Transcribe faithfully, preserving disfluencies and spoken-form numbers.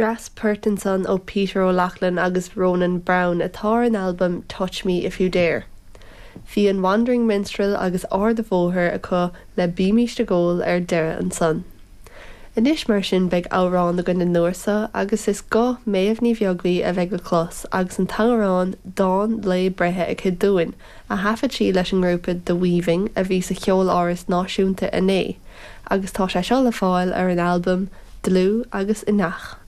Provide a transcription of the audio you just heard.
Dreas poirt ansan ó Peter O'Loughlin agus Ronan Browne atá ar an albam Touch Me If You Dare. Bhí an Wandering Minstrel agus Ard a' Bhóthair acu le Bímis ag Ól ar deireadh ansan. Anois mar sin beidh amhrán againn an uair seo agus is guth Méabh Ní Bheaglaoich a bheidh le clos agus an t-amhrán dán lae breithe aici dúinn a thaifead sí leis an ngrúpa The Weaving a bhí sa Cheoláras Náisiúnta inné, agus tá sé seo le fáil ar an albam Dlúth agus Inneach.